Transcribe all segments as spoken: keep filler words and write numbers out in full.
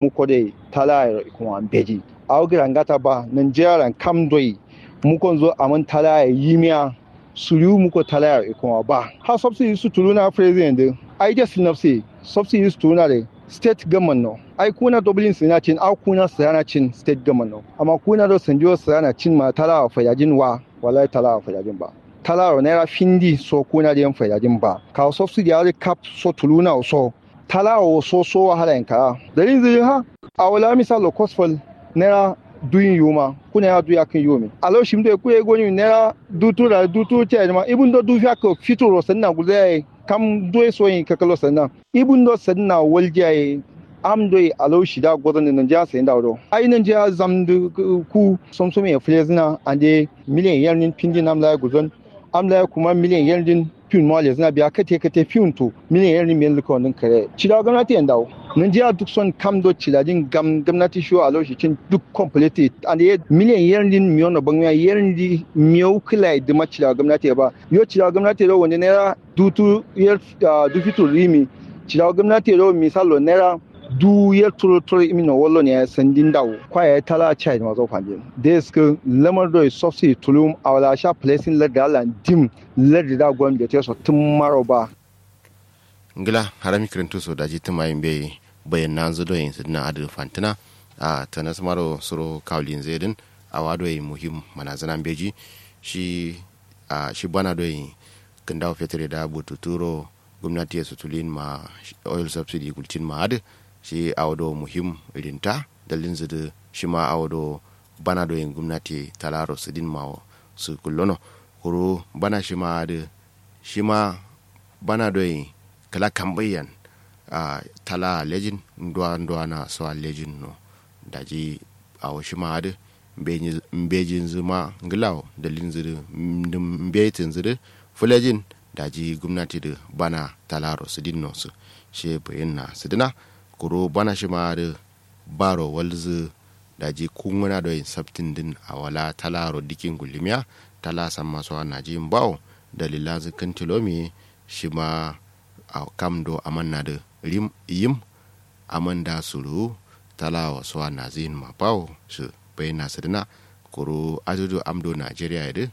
muko doi talaye ro ikuma mbeji. Awo gǝra ngata ba nanjera lan kam doi mukonzo aman talaye yimiya suriwu muko talaye ro ikuma ba. Ha subsidy su tuluna president dǝ ai jas nafsi subsidy su tuluna dǝ state government no ai kuna doblin sina cin au kuna sirana cin state government no amma kuna do sandiyo sirana cin ma talawa fayajin wa. Wallahi talawa fayajin ba. Talaro naira findi so kuna diyan fayajin ba kawo subsidy ari kap so tuluna so. Talawo so so wahala yin kara dalin zuri ha. Awo la misalo kosfal naira duyin yuma kuna ya duya kin yumi alo shimdo kuye goni naira dutu da dutu ce ma ibun do dufiya ko fituro sanna guzaye. Kam doi soyin kakalo sanna ibun do sanna waljiya ye. Am doi alau shida gozon da nanjiya sayin da wado ai nanjiya zamdu ku somsom ye flezina ande miliyan yarnin pindi nam laye guzon. Am laye kuma miliyan yarnin fiun ma lezina biya kate kate fiun to miliyan yarnin miyan luka wandin kare cida gomnati yan dawo. Nanjiya duk son kam do cidajin gam gomnati shiwo alau shi cin duk complete ande miliyan yarnin miyono bangmiya yarnin miyau kila ye duma cida gomnati ya ba yo cida gomnati ya do wande naira dutu yar dufitu rimi. Cida gomnati ya do misalo naira du yar turo turo imi no wallo ne ya sandin dawo kwa ya tala chai ma zo fandin. Des ke lamar do subsidy tulum awala sha placing ladda lan dim ladda da gwan bete so tun maro ba. Ngla harami kirintu so daji tuma yin bai bayan nan zu do yin sidina adu fantina. A tanas maro suro kawlin zaidin awa do yin muhim manazana mbeji. Shi a shi bana do yin kindawo fetre da bututuro gumnati ya sutulin ma oil subsidy gultin ma adu. Shi awo do muhim irinta dalin zudu shi ma awo do bana do yin gumnati talaro sidin ma su kullono. Kuru bana shi ma adu shi ma bana do yin kala kambayyan a tala lejin nduwa nduwa na so a lejin no. Daji awo shi ma adu mbejin zuma nglawo dalin zudu mbejin zudu fulejin. Daji gumnati du bana talaro sidin no su she bayin na sidina. Kuru bana shi ma adu baro walzu daji kunguna do yin sabtin din awala talaro dikin gulimiya tala samma so a naji mbawo. Dalilanzu kintilomi shi ma kam do amanna du rim yim. Aman da suru talawa so a nazu yin ma bawo su bayin na sidina. Kuru adudu am do najeriya ye du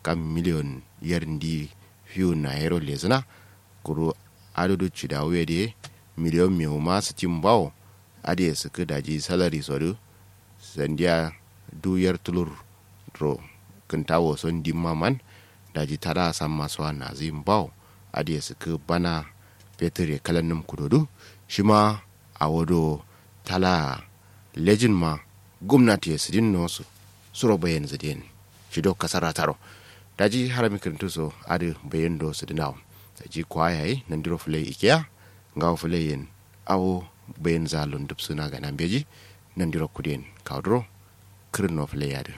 kam miliyon yar ndi fiu na yero lezina. Kuru adudu cidawu ye de miliyon mewu ma sitin bawo. Adiye sikki daji salari so du sandiya du yar tulur ro kintawo so ndimma man. Daji tada samma so a nazu yin bawo. Adiye sikki bana fetur ye kalan num kudo du shi ma awo do tala lejin ma gumnati ye sidin no su suro bayan zidin. Shi do kasara taro daji harami kirintu so adu bayan do sidinawo. Daji kwaya ye nandiro fulai ikiya ngawo fulai yen awo bayin za lundub suna gana mbeji. Nandiro kudiyen kawduro kirin no fulai yadin.